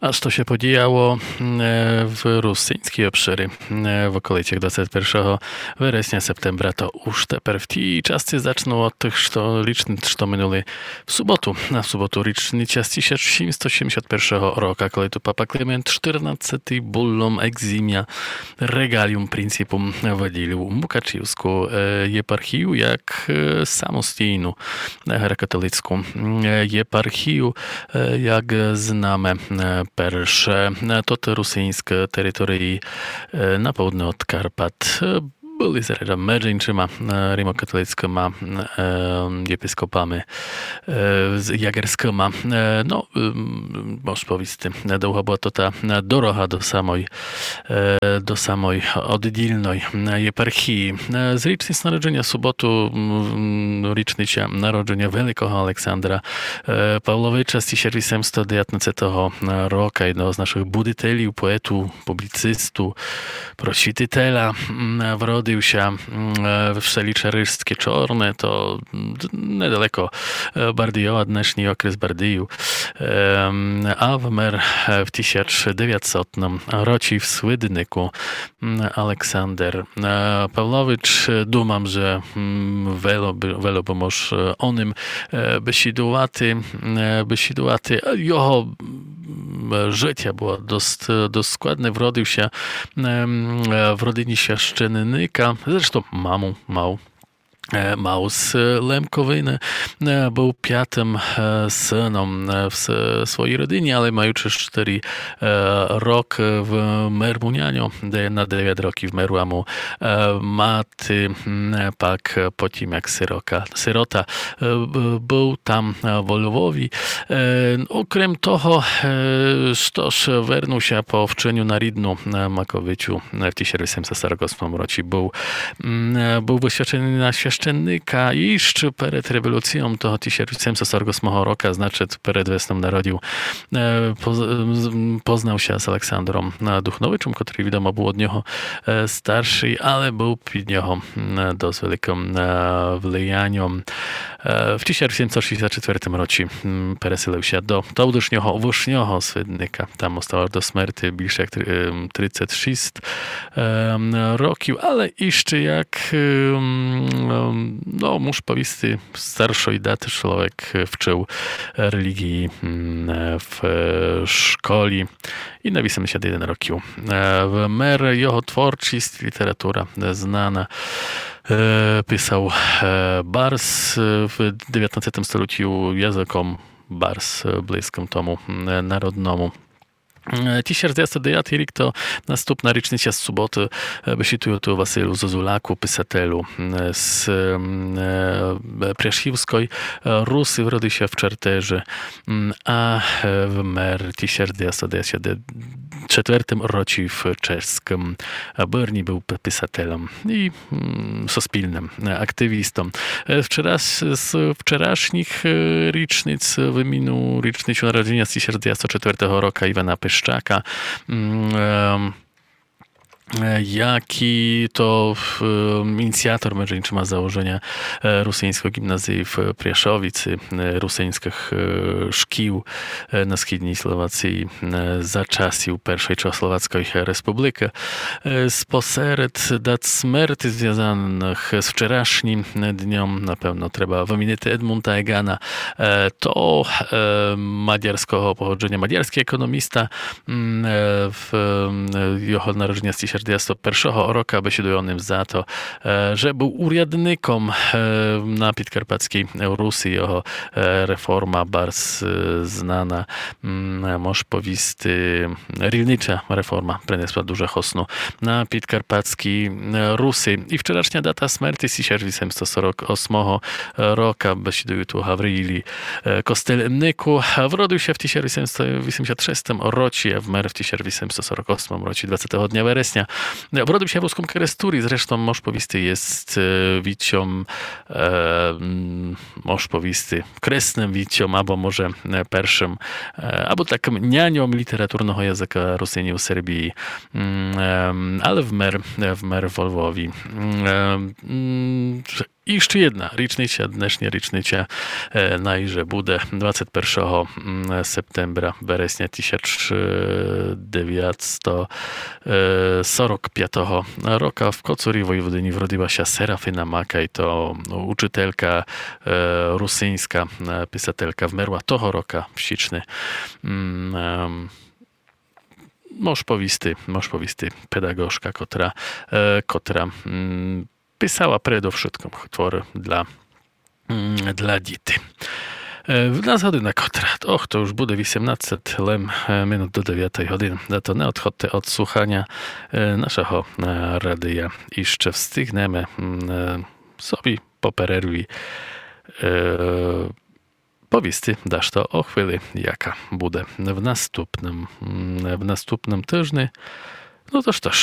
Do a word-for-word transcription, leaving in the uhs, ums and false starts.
А што ся подіяло, е, в русиньскій обшырі, е, в околицях двадцет першого вересня, септембра, то уж тепер в тій часци зачну од тых, што річны, што минули в суботу. А в суботу річны час тисяч сімсто сімдесят першого рока, коли ту папа Климент Штырнадцятый буллом екзімя Regalium Principum выділив Мукачівску, е, єпархію як, е, самостійну, е, греко-католицьку, е, єпархію, е, як знаме, е, перше. Е, то, то русиньскы території, е, на поудне од Карпат, е, были зрада меджи іншыма, е, римокатолицькыма, е, єпископами, е, з-, ягерьскыма. Е, но, м, мож повісти, довга была то та, е, дорога до самой, е, до самой оддільной, е, єпархії. Е, з річниць народженя в суботу, м, річниця народженя великого Александра, е, Павловича з тисяч вісемсто девятнадцятого рока, єдного з нашых будителів, поету, публіцисту, просвітителя, м, вродив ся, м, е, в селі Черешське Чорне, то, м, недалеко, е, Бардийова, днешній окрес Бардийів. Ем, а вмер, е, в тисяч девятсотым році в Свиднику, м, Александер, е, Павлович. Е, думам, же, м, вело бы, вело бы мож, е, о ним, е, бесідувати, м, е, бесідувати. Е, його, м, жытя было дост, дост складне. Вродив ся, ем, е, в родині священника. Зрештом маму мав, е, мав з Лемковины. Е, был пятым, е, сыном, е, в с-, своїй родині, але маючы штыри, е, рокы, вмер му няньо, де на девят років вмерла му, е, мати, м, пак, е, по тім, як сирока, сирота, е, б-, был там, е, во Львові. Е, окрем того, е, што ж, вернув ся по вченю на рідну, е, Маковицю, е, в тисяч вісемсто сорок осмым році. Был, м, е, был высвяченый на священника іщы перед революцийом того тисяч вісемсто сорок осмого рока, значыт, перед весном народів. Е, поз-, з-, м, познав ся з Александром, е, Духновичом, котрый, відомо, был од нього, е, старшый, але был під його, м, дост великым, е, влияньом. Е, в тисяч сімсот шістдесят четвертым році, м, переселив ся до тодышнього Вышнього Свидника. Там остав аж до смерти більше як три-, ем, тридцет шіст, ем, років, але іщы як, ем, ем, но, мож повісти, старшой даты чловек вчыв релігії, м, е, в, е, школі. І на вісемдесят єден років, е, вмер. Його творчіст, література, е, знана. Е, писав, е, барз, е, в девятнадцятым столітю языком барз, е, близкым тому, м, е, народному. Е, тисяч девятсот девятый рік то наступна річниця з суботы, е, бесідую ту о Василю Зозуляку, писателю, м, з, м, е, Пряшівской, е, Руси, вродив ся в Чертежи, м, а, е, вмер тисяч девятсот девятдесят четвертым році в чеськым, е, Бырні, был пи-, писателем і, м, суспільным, е, активістом. Е, вчера-, з, з вчерашніх, е, річниць выміну річницю народженя з тисяч девятсот четвертого рока Івана Пищака, м, е, е, якій то, е, ініціатор, межи іншыма, заложеня, е, русиньского ґімназії в Пряшовици, е, русиньскых, е, шкіл, е, на східній Словації, е, за часів Першой Чехословацькой Республікы. Е, спосеред дат смерти звязаных з вчерашнім дньом, напевно, треба вымінити Едмунда Егана, е, то, е, мадярского походженя, мадярскій економіста, м, е, в, м, його народженя з тисяч девятсот першого рока, бесідую о ним за то, е, же был урядником, е, на підкарпатській Руси. Його, е, реформа барз, е, знана, м, мож повісти, рілнича реформа принесла дуже хосну на підкарпатській, е, Руси. І вчерашня дата смерти з тисяч вісемсот сорок осмого рока, бесідую ту о Гавриїлі, е, Костельнику. Вродив ся в тисяч вісемсот вісемдесят шестым році, а вмер в тисяч вісемсот сорок осмым році, двадцятого дня вересня. Вродив ся в Рускім Керестурі, зрештом, мож повісти, єст, е, вітьом, е, м, мож повісти, кресным вітьом, або може, е, першым, е, або такым няньом літературного языка Русинів у Сербії. М, ем, але вмер, е, вмер во Львові. М, е, м, І ще єдна річниця, днешня річниця, е, най же буде двадцять першого, м, септембра, вересня тисяч девятсто сорок пятого рока в Коцурі Войводині вродила ся Серафина Макай, то учителька, е, русинська, е, писателька, вмерла того рока в січни. М, ем, мож повісти, мож повісти, педагожка, котра, е, котра, м, писала предовшыткым творы для, м, для діти. Е, в нас година котра. Ох, то уж буде вісемнадцет лем, е, минут до девятей годины. Зато не одходте од слуханя, е, нашого, е, радия. І ще встигнеме, м, е, собі по перерві, е, повісти дашто о хвили, яка буде в наступным, м, в наступным тыжни. Но то што ж,